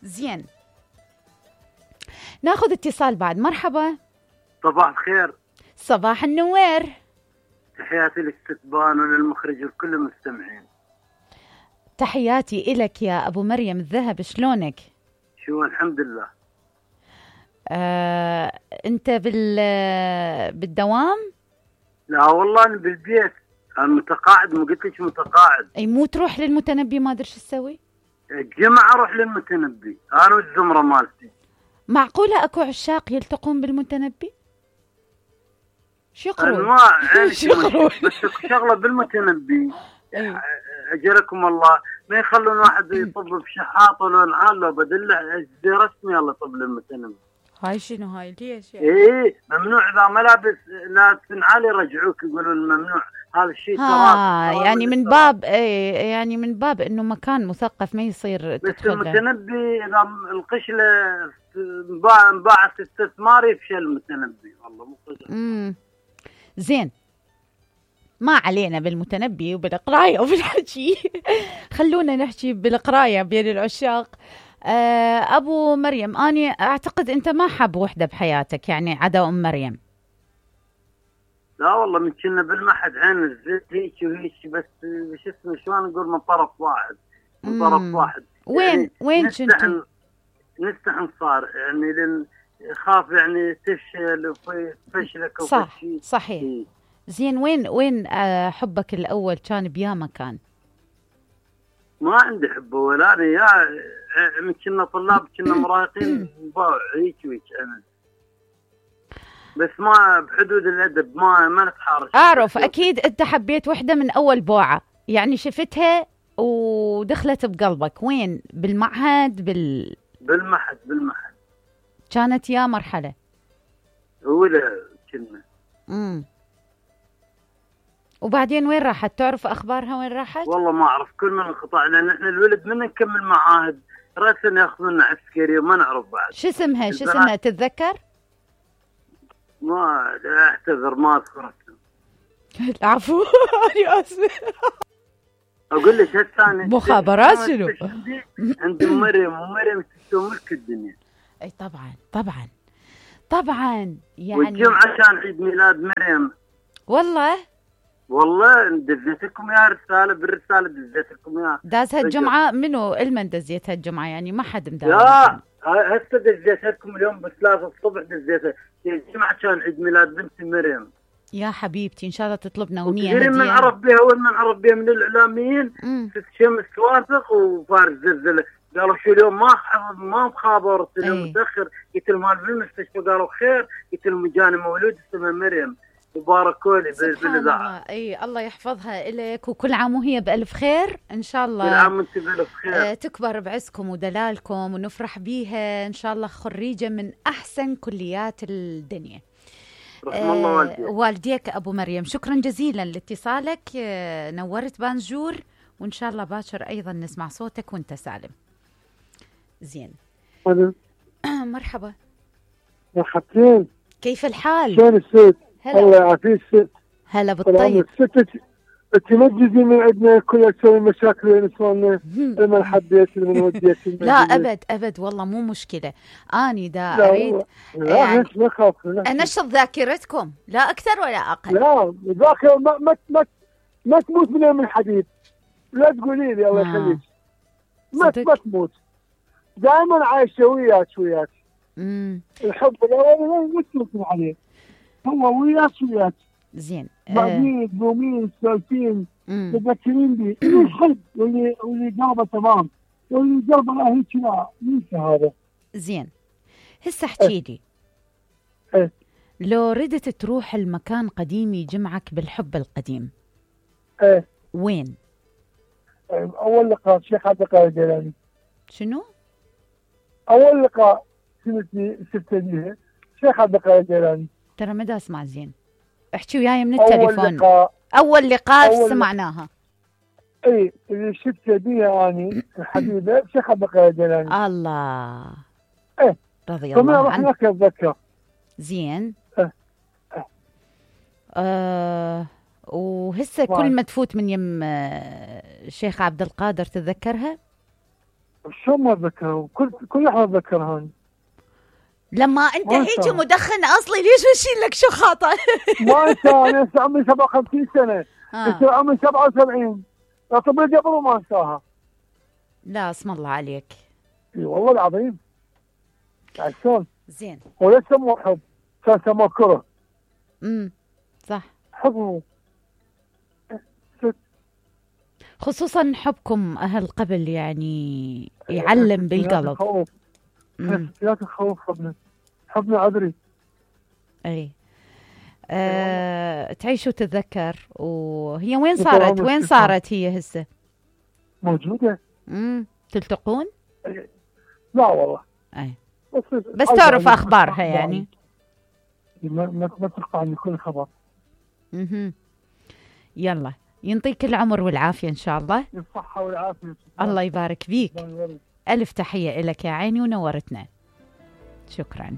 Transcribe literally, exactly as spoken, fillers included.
زين، ناخذ اتصال بعد. مرحبا. صباح الخير. صباح النوير. تحياتي للستبان وللمخرج وكل المستمعين. تحياتي إلك يا أبو مريم الذهب، شلونك؟ شو الحمد لله. آه، أنت بال بالدوام؟ لا والله أنا بالبيت، أنا متقاعد. ما قلت لك متقاعد؟ أي مو تروح للمتنبي ما أدري شو تسوي؟ الجمعة أروح للمتنبي أنا والزمرة مالتي. معقولة أكو عشاق يلتقون بالمتنبي؟ شو يقرون؟ أنواع يعني بس شغلة بالمتنبي أجركم الله ما يخلون واحد يطب بشحاط ولا نعال لو بدله زي رسمي الله يطب للمتنبي. هاي شنو هاي ليش يعني؟ ايه ممنوع اذا ملابس لا تنعال يرجعوك يقولوا الممنوع هذا الشيء تراث. يعني من باب ايه يعني من باب انه مكان مثقف ما يصير بس تدخل. المتنبي اذا القشله انباع انباعت استثمار يفشل المتنبي والله مو امم زين، ما علينا بالمتنبي وبالقرايه وبالحكي. خلونا نحكي بالقرايه بين العشاق. أبو مريم، أنا أعتقد أنت ما حاب وحدة بحياتك يعني عدا أم مريم. لا والله من كنا بالمحد عين الزيت هيك وهيك بس بش اسمه شلون نقول من طرف واحد من طرف واحد. وين يعني وين كنتوا؟ نستحن صار يعني لأن خاف يعني تفشل وفشلك صح صحيح. هي. زين، وين وين حبك الأول كان بيا مكان؟ ما عندي حب ولا أنا يا من كنا طلاب كنا مراهقين نباع هيك وهيك أنا بس ما بحدود الأدب ما ما نتحارش. أعرف أكيد أنت حبيت وحدة من أول بوعة يعني شفتها ودخلت بقلبك. وين؟ بالمعهد بال بالمحد بالمحد كانت يا مرحلة أولى كنا. امم وبعدين وين راحت؟ تعرف أخبارها وين راحت؟ والله ما أعرف كل من انقطع لأن إحنا الولد من نكمل معاهد رأسا يأخذون عسكري وما نعرف بعد. شو اسمها شو اسمها تتذكر؟ ما أعتذر ما أذكر اسمها. العفو أنا آسفة. أقول لك هالثاني مخابرات شنو؟ عند مريم ومريم تسوي ملك الدنيا. أي طبعا طبعا طبعا يعني. والجمعة كان عيد ميلاد مريم. والله والله دزيت لكم يا رسالة بالرسالة دزيت لكم يا. دازها الجمعة منو المن دزيتها الجمعة يعني ما حد مداوم. لا هسه دزيتها لكم اليوم بثلاثة الصبح دزيتها. الجمعة كان عيد ميلاد بنتي مريم. يا حبيبتي إن شاء الله تطلبنا أغنية هدية. من عرف بها وين من عرف بها من الإعلاميين ست شمس واثق وفارس زلزلة قالوا شو اليوم ما ما مخابر اليوم متأخر. قلت لهم مال بالمستشفى قالوا خير. قلت لهم جاني مولود اسمه مريم وباركوا لي بالاذاعه. اي الله يحفظها الك وكل عام وهي بالف خير ان شاء الله. كل عام وانت بالف خير. آه تكبر بعزكم ودلالكم ونفرح بيها ان شاء الله خريجه من احسن كليات الدنيا. رحم آه الله والديك. والديك ابو مريم، شكرا جزيلا لاتصالك. آه نورت بانجور وان شاء الله باكر ايضا نسمع صوتك وانت سالم. زين. مرحبا. مرحبتين. كيف الحال؟ شلون الست؟ الله يعافيك ست. هلا بالطيب. ست تنجزي من عندنا كلها تسوي مشاكل وين نسواننا لما حبيت لما وديت. لا ابد ابد والله مو مشكله. اني دا اريد لا يعني ما خاف انشط ذاكرتكم لا اكثر ولا اقل. لا ذاكره ما ما ما, ما تموت من يوم الحديد. لا تقولي لي الله يخليك. ما ما تموت دائما عايشه وياك وياك. امم الحب الاول ما تموت عليه هو وياك وياك. زين. بعدين دومين سالفين تذكرين بي اللي يحب واللي واللي قلبه تمام واللي قلبه هيك لا ينسى هذا. زين هسه احكي لي. ايه لو ردت تروح المكان قديم يجمعك بالحب القديم. ايه وين؟ اول لقاء شيخ عبد القادر الجيلاني. شنو؟ اول لقاء سنتي شفته بيها شيخ عبد القادر الجيلاني. ترى ما دا اسمع زين. احكي وياي من التليفون. أول لقاء أول لقاء أول سمعناها. اي اللي شفت بيها اني الحبيبه شيخ عبد القادر الجيلاني. الله. ايه رضي الله عنه. رحنا اتذكر. زين. ايه ايه آه وهسه كل ما تفوت من يم الشيخ عبد القادر تتذكرها؟ شو ما اتذكر، كل كل لحظه اتذكر هاي. لما انت هيك مدخن اصلي ليش بشيل لك شو خاطر؟ ما انسى، انا هسه عمري سبعة وخمسين سنه، هسه عمري سبعة وسبعين، اعتبر قبل ما انساها. لا اسم الله عليك. اي والله العظيم. عشان زين. وليس سموه حب، كان سموه كره. امم صح. حب خصوصا حبكم اهل قبل يعني يعلم بالقلب. لا تخوف حبنا، حبنا عذري. اي أه... تعيش وتتذكر. وهي وين صارت وين صارت هي هسه؟ موجودة. امم تلتقون؟ لا والله. اي بس, بس تعرف اخبارها يعني. ما ما ما تلقى عني كل خبر. اها يلا ينطيك العمر والعافية إن شاء الله. الصحة والعافية. الله يبارك فيك. ألف تحية لك يا عيني ونورتنا. شكرا.